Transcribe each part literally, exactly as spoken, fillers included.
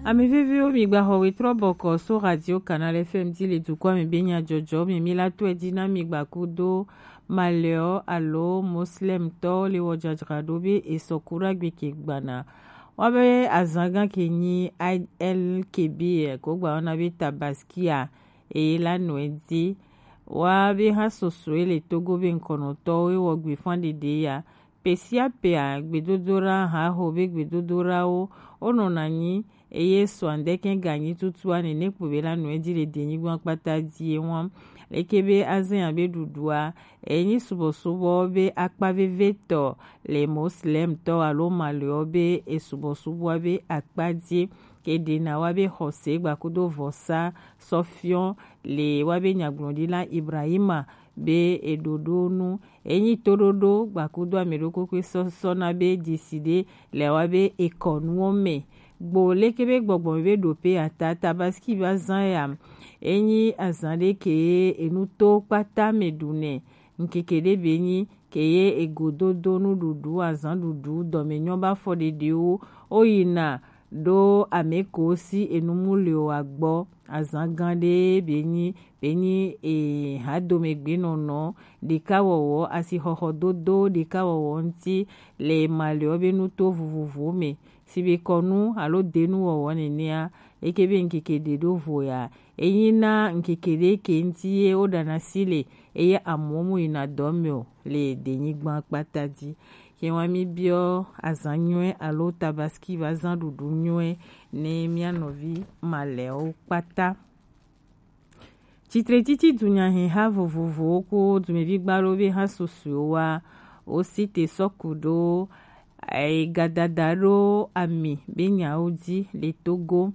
Ame veviwo, mi gba xɔ wetrɔ bɔkɔ so Radio Canal F M di le dukɔa me be nyajɔjɔ me. Mi la tɔe di na mi gba kudo malɛɔ alo Moslemtɔ le wɔ jajraɖo be esɔ ku ɖagbe ke gbana. Wa be azangan ke nyi I L K B ko gba wɔna be Tabaskia, eye la nɔe di. Wa be hã sosoe le Togo be ŋkɔnɔtɔwo e wɔ gbe fan ɖeɖe ya. Pe sia pea, gbedodoɖa haho be gbedodoɖawo wonɔna anyi, eye sɔa ŋdɛkɛ ganyi tutua nene kpo be la nɔe di le denyigba kpata die ŋua. Leke be azɛn abe ɖuɖua, enyi subɔsubɔ be akpa vevetɔ le Moslemtɔ alo Malɛɔ be esubɔsubɔa be akpa die. Ke ɖena wa be xɔse gba kudo vɔsa sɔfiɔ le wa be nyagblɔɖila Ibrahima be eɖoɖo nu. Enyi toɖoɖo gba kudo ame ɖokpokpoi sɔsɔ na be dzisi ɖe le wa be ekɔnuwo me. Gbo leke be gbɔgbɔ be ɖo pe ata Tabaski va zan ya. Enyi azan ɖe ke enu to kpata me ɖu nɛ. Ŋkeke ɖe be nyi ke ye egododo nuɖuɖu, azan ɖuɖu, dɔmenyɔ ba fɔ ɖeɖewo, o yina ɖo ame ko si enu mu le o agbɔ. Azan gan ɖe be nyi, be nyi e hadomegbe nɔnɔ ɖeka wɔwɔ, asixɔxɔ dodo ɖeka wɔwɔ ŋuti le Malɛɔ be nuto vovovowo me, si be kɔnu alo denu wɔwɔ nenea, eke be ŋkeke ɖe ɖo vo ya. Enyi na ŋkeke ɖe ke ŋuti ye woɖana si le, eye amewo mu yina dɔ me o le denyigba kpata di. Ke wa mi biɔ azan nyuie alo Tabaski va zan ɖuɖu nyuie ne mia nɔvi Malɛwo kpata. Tsitretsitsi dunyaheha vovovowo kpo dumevi gbalowo be hã susɔewo wa, wosi te sɔ ku ɖo egadada ɖo ami be nyawo di le Togo.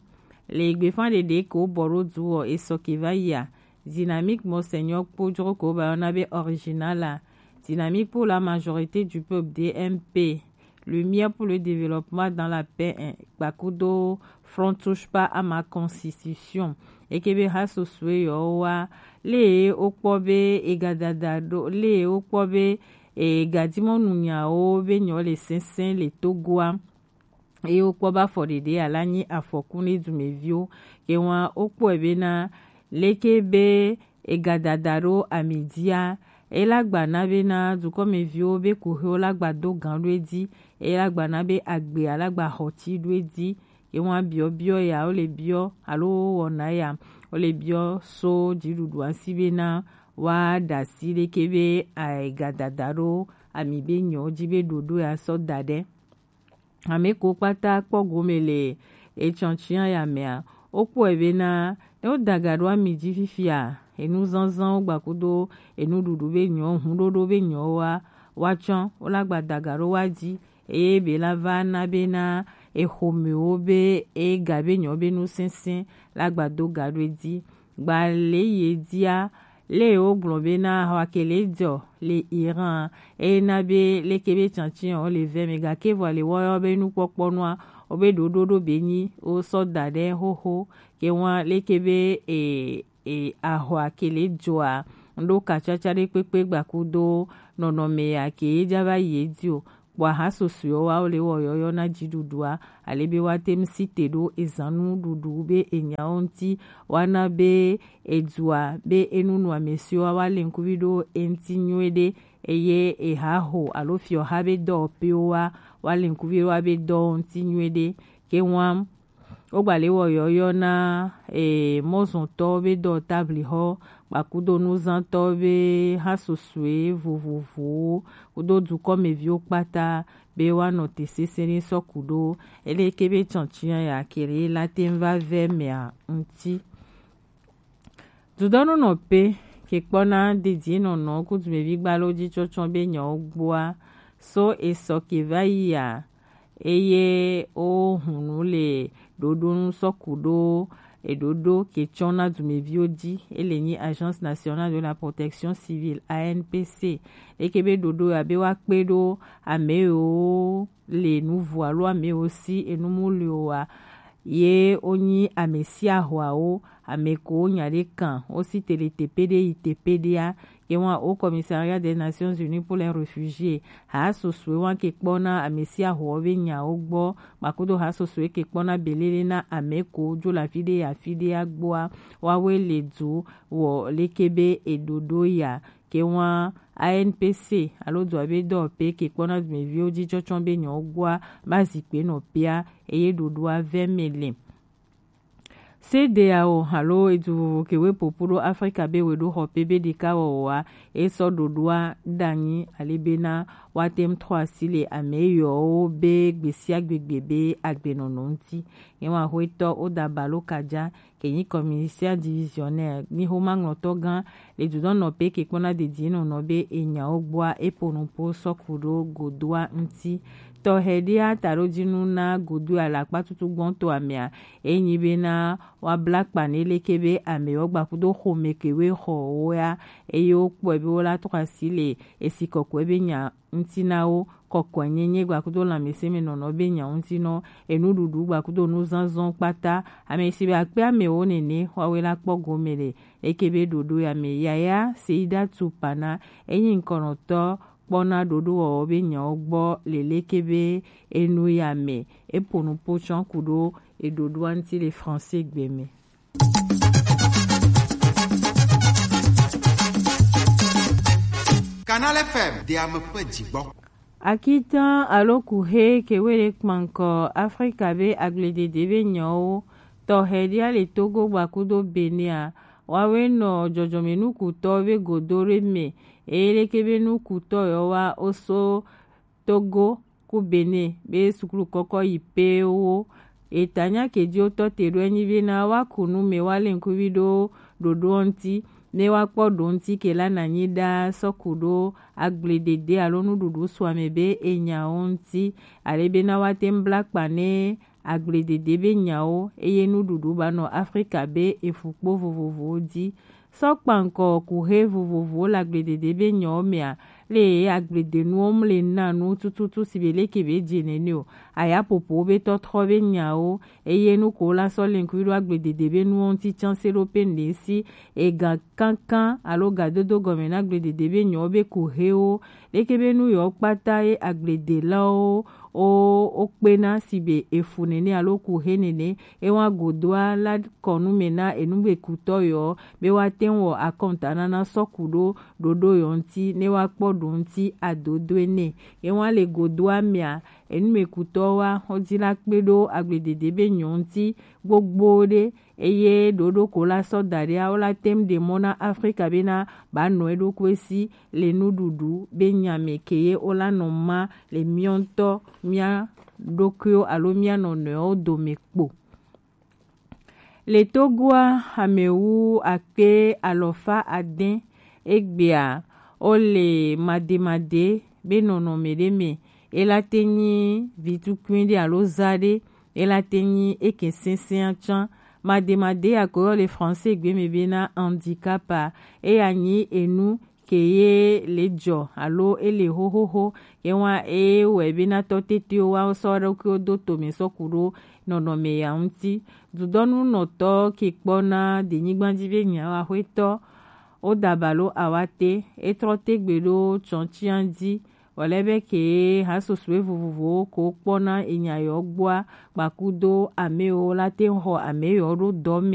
Le gbefa ɖeɖe ke wobɔ ɖo du wɔ esɔ ke va yia, Dynamique Monseigneur kpo jro ke woba yɔna be Original la, Dynamique pour la majorité du peuple, D M P, Lumière pour le développement dans la paix, eh, gbakudo Front touche pas à ma constitution. Eke be ha susue yɔ wa, le wokpɔ be egadada ɖo, le wokpɔ be egadimɔnu nyawo be nyɔ le sɛnsɛn le Togoa. Eye wokpɔ be afɔ ɖeɖe ala nyi afɔku ne dumeviwo. Ke wa wokpɔe bena leke be egadada ɖo ami dia, ela gba na bena dukɔmeviwo be kuxiwo la gba do gan ɖo edzi, ela gba na be agbe ala gba xɔti ɖo edzi. Ye wa biɔ biɔ ya wole biɔ alo wɔna ya wole biɔ so dziɖuɖua si bena wa ɖasi leke be egadada ɖo ami be nyɔ dzi be ɖoɖo ya sɔ da ɖe. Ame ko kpata kpɔ gome le etsɔntsia ya mea, wokpɔe bena ne wodaga ɖo ami dzi fifia, enu zazãwo gbakudo enuɖuɖu be nyɔ, huɖoɖo be nyɔ wa, woatsɔ, wola gba daga ɖo wa dzi, eye be la va na bena exomewo be ega be nyɔ be nu sɛnsɛn la gba do ga ɖo edzi. Gba le ye dia, le wogblɔ bena ahwa ke le dzɔ le Iran, eye na be leke be tsantsi wo le vɛ me, gake vɔ le woyɔ be nukpɔkpɔ nua, wo be ɖoɖo ɖo be nyi wo sɔ da ɖe xoxo, ke wa leke be e, e, ahwa ke le dzɔa, ŋɖo katsatsa ɖe kpekpe gbakudo nɔnɔme ya ke ye dza va yi edzi o. Kpɔ aha susɔewo wa wo le wɔ yɔyɔ na dziɖuɖua, ale be woate ŋu si te ɖo ezanu ɖuɖu be enyawo ŋuti, woana be edua be enu nu ame siwo wa le ŋkuvi ɖo eŋuti nyuie ɖe, eye ehaho alo fiɔha be dɔwɔƒewo wa, wa le ŋkuvi ɖo wa be dɔwo ŋuti nyuie ɖe. Ke wa wogba le wɔ yɔyɔ na e, mɔzɔntɔwo be dɔ tablixɔ, kpakudo nuzãtɔwo be ha susɔe vovovowo, kudo dukɔmeviwo kpata be woanɔ te sese ne sɔ ku ɖo eleke be tsɔntsia ya ke ɖe la te ŋu va vɛ mea ŋuti. Dudɔnunɔ pe ke kpɔna dedienɔnɔ ku dumevi gbalo dzi tsɔtsɔ be nyawo gbɔa, so esɔ ke va yia, eye wo hunu le ɖoɖo nu sɔ ku ɖo eɖoɖo ke tsɔ na dumeviwo dzi. Ele nyi Agence Nationale de la Protection Civile, A N P C. Eke be ɖoɖo ya be woakpe ɖo ame yiwo le nu vo alo ame yiwo si enu mu li o wa, ye wo nyi amesiahoawo, ame ko nya ɖe kan wo si tele tepe ɖe yi tepe ɖea, ye wa au Commissariat des Nations Unies pour les Réfugiés, ha sosoe wa ke kpɔna amesiahoawo be nyawo gbɔ, kpakudo ha sosoe ke kpɔna belele na ame ko jo le afi ɖe yi afi ɖea gbɔa, woawoe le du wɔ leke be eɖoɖo ya. Ke wa A N P C alo dua be dɔwɔpe ke kpɔna dumeviwo ji tsɔtsɔ be nyawo gbɔa, ba zikpe nɔ pea, eye ɖoɖoa vɛ me le. C D A O alo edu vovo ke we popo ɖo Afrika be we ɖo xɔ pe be ɖeka wɔwɔa, e sɔ ɖoɖoa ɖanyi ale bena woate ŋu trɔ asi le ame yɔwo be gbesiagbegbe be agbenɔnɔ ŋuti. Ye wa xwetɔ wo da balo kadza ke nyi commissaire divisionnaire, nyi xomaŋlɔtɔ gã le dudɔnɔpe ke kpɔna dedienɔnɔ be enyawo gbɔa, e po nupo sɔ ku ɖo godoa ŋuti. Tɔxɛ ɖia taɖojinu na godoa le akpa tutu gbɔntɔ amea, e nyi bena wa bla kpa ne leke be amewo gbakudo xome ke we xɔ woa, eye wo kpɔe be wo la trɔ asi le esi kɔkɔe be nya ŋuti na wo, kɔkɔenyenye gbakudo lãmesẽmenɔnɔ be nya ŋuti nɔ, enuɖuɖu gbakudo nuzazɔ kpata. Ame si be akpe amewo nene, woawoe la kpɔ gome le eke be ɖoɖo ya me. Yaya Seida Tupana, enyi ŋkɔnɔtɔ kpɔna ɖoɖowɔwɔ be nyawo gbɔ le leke be enu ya me. Epo nupo tsɔ ku ɖo eɖoɖoa ŋuti le français gbe me. Canal F M, de ame ƒe dzigbɔ. Akitan alo kuxe ke we ɖe kpankɔ Afrika be agbledede be nyawo tɔxɛ ɖia le Togo gbakudo Benea, woawoe nɔ dzɔdzɔmenukutɔ be godo ɖe me, eye leke be nukutɔ yɔ wa wo so Togo ku Benin be suklu kɔkɔ yi pewo. Eta nya ke ji wotɔ te ɖo enyi be na wa ku nu me wa le ŋkuvi ɖo ɖoɖo ŋuti, ne wa kpɔ ɖo ŋuti ke la na nyi ɖa sɔ ku ɖo agbledede alo nuɖuɖu sua me be enyawo ŋuti, ale be na wa te ŋu bla kpa ne agbledede be nyawo, eye nuɖuɖu ba nɔ Afrika be efukpo vovovowo ji. Sɔ kpankɔ kuxe vovovowo le agbledede be nyawo mea, le agblede nuwo mu le na nu tututu si be leke be dze nene o. Aya popo be tɔtrɔ be nyawo, eye nu ko la sɔ le ŋkuvi ɖo agbledede be nuwo ŋuti tsan se ɖo pe ŋɖe si. Ega kankan alo gadodo gɔme na agbledede be nyawo be kuxewo, leke be nu yewo kpata ye agbledelawo wo wo kpena si be efu nene alo kuxe nene, ewa godoa la kɔ nu me na enugbekutɔ yewo be woate ŋu wɔ akɔntanana sɔ ku ɖo ɖoɖo yewo ŋuti ne woakpɔ ɖo ŋuti adodoe nɛ. Ewa le godoa mea, enumekutɔwo wa xɔdzi la kpe ɖo agbledede be nyawo ŋuti gbogbo ɖe, eye ɖoɖo ko la sɔ da ɖea, wo la te ŋu ɖe mɔ na Afrika bena ba nɔ eɖokui si le nuɖuɖu be nya me ke ye wo la nɔ ma le mía ŋutɔ mía ɖokuiwo alo mía nɔnɔewo dome kpo. Le Togoa, ame wu akpe alɔfa ade egbea wo le mademade be nɔnɔme ɖe me. E la te nyi vitukui ɖe alo za ɖe, e la te nyi eke sesẽa tsã. Mademade ya ko yɔ le français gbe me bena handicap a, eya nyi enu ke ye le dzɔ alo e le xoxoxo, ye wa e wɔe bena tɔ tetewo wa sɔ ɖokuiwo do tome sɔ ku ɖo nɔnɔme ya ŋuti. Dudɔnunɔtɔ ke kpɔna denyigba dzi be nyawo, axwetɔ wo da balo awate, e trɔ te gbe ɖo tsɔntsia dzi. Wòle be ke hasosoe vovovowo ko kpɔna enya yewo gbɔa, kpakudo ame yewo la te ŋu xɔ ame yewo ɖo dɔ